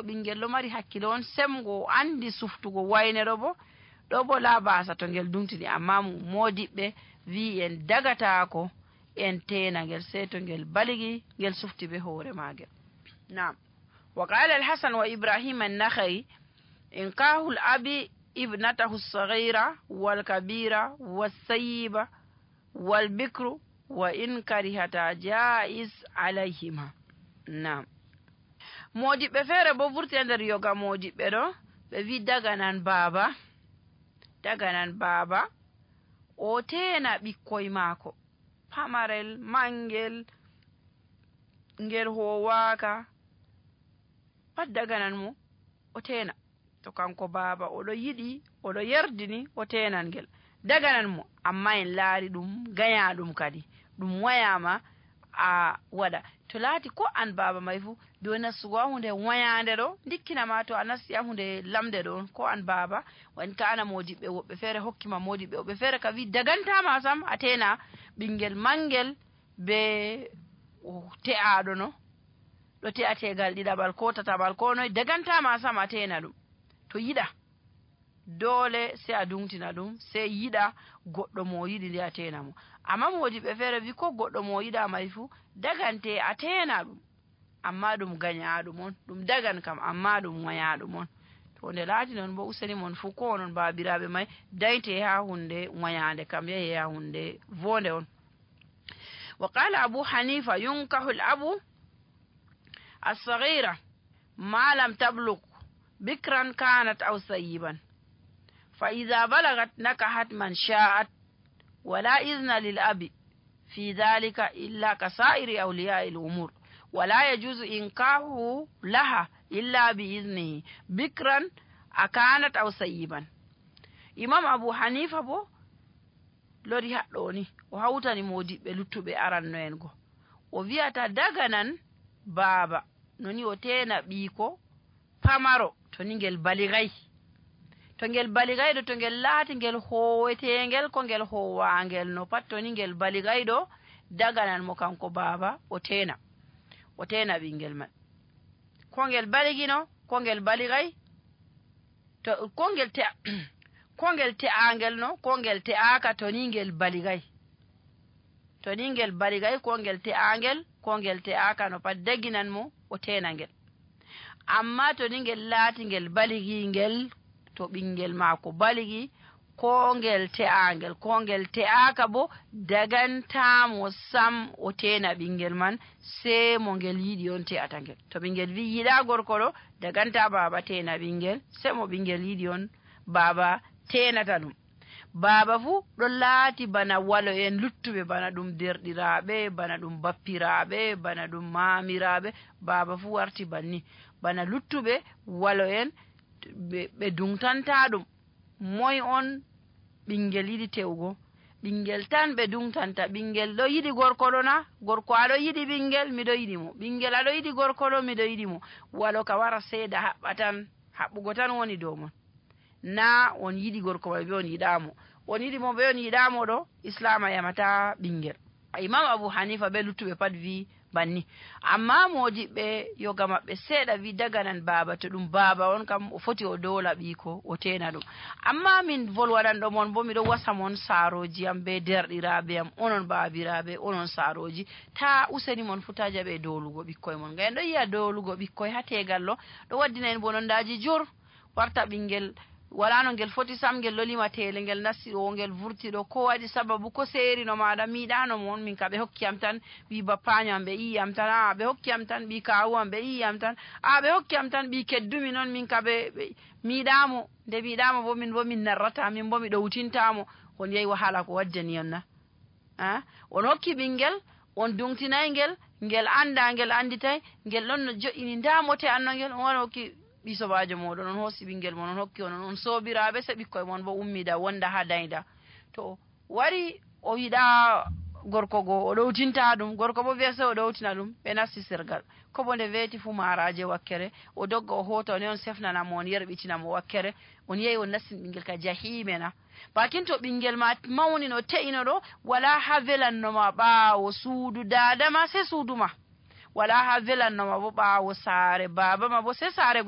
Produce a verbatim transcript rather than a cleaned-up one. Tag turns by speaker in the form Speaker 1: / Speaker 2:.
Speaker 1: ɓingel ɗo mari hakkilo on semgo andi suftugo waynero bo ɗo bo labasa to ngel dumtini, amma modiɓɓe wi en dagatako en tena ngel sey to ngel baligi ngel sufti be hoore magel. Naam. Wa qala al-Hasan wa Ibrahim an-Nakhai inkahu al-abi ibnatahu as-saghira wal-kabira was-sayyiba wal-bikru wa in karihata jaiz alayhima. Naam. Modiɓɓe feere bo vurti nder yoga modiɓɓe ɗo ɓe wi daganan baba daganan baba o tena ɓikkoy maako pamarel mangel ngel howaka pat daganan mo o tena, to kanko baba oɗo yiɗi oɗo yerdini o tenan ngel daganan mo, amma en laari ɗum gaya ɗum kadi ɗum wayama a waɗa. To laati ko an baba may fu do nastugo a hunde wayande ɗo dikkinama to a nasti a hunde lamde ɗo ko an baba wan kana modiɓɓe woɓɓe feere hokkima modiɓɓe woɓɓe feere ka wi dagantama sam a tena ɓingel mangel be te'aɗo no ɗo te'a tegal ɗiɗaɓal ko tataɓal ko noy dagantama sam a tena ɗum. To yiɗa dole sai a dumtina ɗum sai yiɗa goɗɗo mo yiɗi ndi a tena mo, amma modiɓɓe feere wi ko goɗɗo mo yiɗa may fu dagante a tena ɗum, amma ɗum gañaɗum on ɗum dagan kam amma ɗum wayaɗum on. to nde laati noon bo useni mon fu ko onon babiraɓe may dayte ha hunde wayande kam yahi ha hunde vonde on. Wa qala Abu Hanifa yunkahu al-abu as-saghira ma lam tablugh bikran kanat aw sayyiban fa idha balagat nakahat man sha'at wala izna lil abi fi dhalika illa kasairi awliya'i al-umur wala yajuzu inkahu laha illa bi iznihi bikran akanat aw sayyiban. Imam Abu Hanifa bo lori haɗɗo ni o hawtani modiɓɓe luttuɓe aranno en go o wi'ata daganan baba noni o tena ɓiiko pamaro to ni ngel baligay, to ngel baligayɗo to ngel laati ngel howetengel ko ngel howangel no pat to ni ngel baligayɗo daganan mo kanko baba o tena o tena ɓingel man ko ngel baligino ko ngel baligay to ko ngel te ko ngel te'angel no ko ngel te'aka to ni ngel baligay to ni ngel baligay ko ngel te'angel ko ngel te'aka no pat daginan mo o tena ngel. Amma to ni ngel laati ngel baligi ngel to ɓingel maako baligi ko ngel te'angel ko ngel te'aka bo dagantamo sam o tena ɓingel man sai mo ngel yiɗi on te'ata ngel. To ɓingel wi yiɗa gorko ɗo daganta baba tena ɓingel sai mo ɓingel yiɗi on baba tenata ɗum. Baba fu ɗo laati bana walo en luttuɓe bana ɗum derɗiraɓe bana ɗum bappiraɓe bana ɗum mamiraɓe baba fu warti banni bana luttuɓe walo en ɓe dungtanta ɗum moy on ɓingel yiɗi tewgo ɓingel tan ɓe dungtanta ɓingel ɗo yiɗi gorko ɗo na gorko aɗo yiɗi ɓingel miɗo yiɗi mo ɓingel aɗo yiɗi gorko ɗo miɗo yiɗi mo walo ka wara seeda haɓɓa tan haɓɓugo tan woni dow mon na on yiɗi gorko mai be on yiɗamo on yiɗi mo be on yiɗamo ɗo islama yamata ɓingel. Imam Abu Hanifa be luttuɓe pat wi banni, amma modiɓɓe yoga maɓɓe seeɗa wi daganan baba to ɗum baba on kam o foti o dola ɓiiko o tena ɗum. Amma min volwaɗanɗo mon bo miɗo wasa mon saroji am be derɗiraɓe am onon babiraɓe onon saroji ta useni mon futa jaɓe dolugo ɓikkoye mon ngam en ɗo yiya dolugo ɓikkoye ha tegal ɗo ɗo waddina en bonondaji jur warta ɓingel wala no ngel foti sam ngel lolima tele ngel nasti o ngel vurti ɗo ko waɗi sababu ko seeri no maɗa miɗano mon min ka ɓe hokkiyam tan wi bappaño am ɓe iyiyam tan a ɓe hokkiyam tan ɓi kawu am ɓe iyiyam tan a ɓe hokkiyam tan ɓi keddumi noon min ka ɓe miɗamo nde miɗamo bo min bo min narrata min bo mi ɗowtintamo on yehi wahala ko waddani on na a on hokki ɓingel on dungtinay ngel ngel anda ngel anditay ngel ɗon no joƴini ndamote anno ngel on wara hokki ɓi sobajo moɗon on hoosi ɓingel mon on hokki on on sobiraɓe se ɓikkoye mon bo ummida wonda ha dayda to wari o yiɗa gorko go o ɗowtinta ɗum gorko bo wiya se o ɗowtina ɗum ɓe nasti sirgal ko bo nde weeti fu maraje wakkere o dogga o hota on on sefnanamo on yerɓitinamo wakkere on yehi on nastin ɓingel ka jahimena bakin to ɓingel ma mawni no te'ino ɗo wala ha velannoma ɓaawo suudu dadama se suudu ma wala ha velannoma bo ɓaawo saare baba ma bo se saare